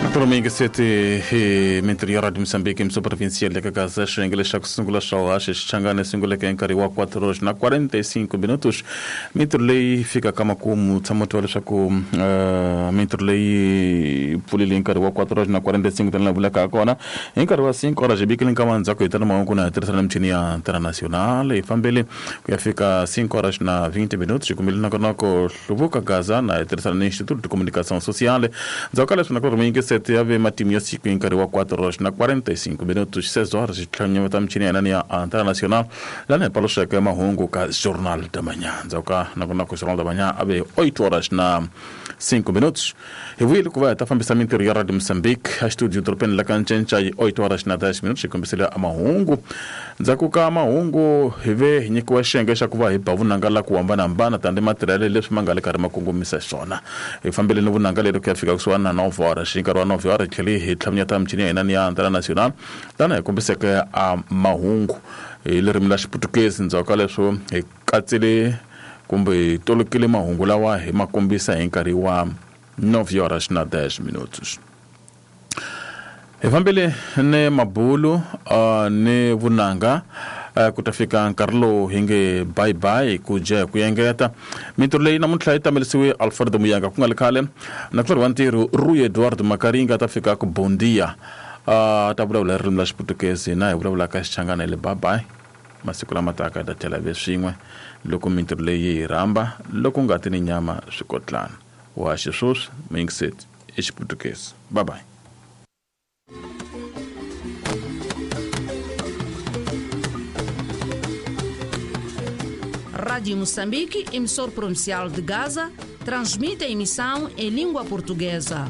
Naturalmente, sete hi mintirho ya Radio Mozambique mso provincial le ka Gaza xiyenge xa ku sungula xa haxe xichangani sunguleke hi nkarhi wa 4 horas na 45 minutos. Mintirho leyi fika ka makumu tshama twa leswaku mintirho leyi pfulile hi nkarhi wa 4 horas na 45 tanihi vulaka ha kona hi nkarhi wa 5 horas hi bikile nkama ndzhaku hi tana mahungu na hi tirhisana michini ya international hi fambele ku ya fika 5 horas na 20 minutos hi kumile nongonoko hluvuka Gaza na hi tirhisana ni Instituto de Comunicação Social. Ndzhaku ka leswi na ku ri sete ya ve matimu ya siku hi nkarhi wa 4 horas na 45 minutos 6 horas hi tlhanyeta michini ya hina ni ya Antena Nacional lana hi paluxeke mahungu ka Jornal da Manhã. Ndzhaku ka nongonoko Jornal da Manhã a ve 8 horas na 5 minutos. Hi vuyile ku va hi ta fambisa mintirho ya Radio Mozambique a studio dorobeni la ka Ncenca hi 8 horas na 10 minutos hi kombisile a mahungu. Ndzhaku ka mahungu hi ve hi nyikiwa xiyenge xa ku va hi ba vunanga la ku hambanahambana tanihi matirhelo leswi ma nga le karhi ma kongomisa xiswona. Hi fambile ni vunanga leri ku ya fika kusuhani na 9 horas. Hi nkarhi wa 9 horas hi tlhele hi tlhamunyeta michini ya hina ni ya Antena Nacional tani hi kombiseke a mahungu hi ririmi la Xiputukezi. Ndzhaku ka leswo hi katsile kumbe hi tolokile mahungu lawa hi ma kombisa hi nkarhi wa 9 horas na 10 minutos. Hi fambile ni mabulu ni vunanga ku ta fika nkarhi lowu hi nge bye bye ku dya hi ku engeta. Mintirho leyi namuntlha yi tamelisiwe Alfredo Muyanga ku nga le khale na ku wa ntirho Rui Eduardo Makaringa ta fika ku Bondia ta vulavula hi ririmi la Xiputukezi na hi vulavulaka Xichangana hi le bye bye. Masiku lama taka hi ta tlhela ve swin'we loko mintirho leyi yi rhamba loko ngati ni nyama swi kotlana. Wa xisweswi muyingiseti i Xiputukezi. Bye bye. Rádio Moçambique, emissor provincial de Gaza, transmite a emissão em língua portuguesa.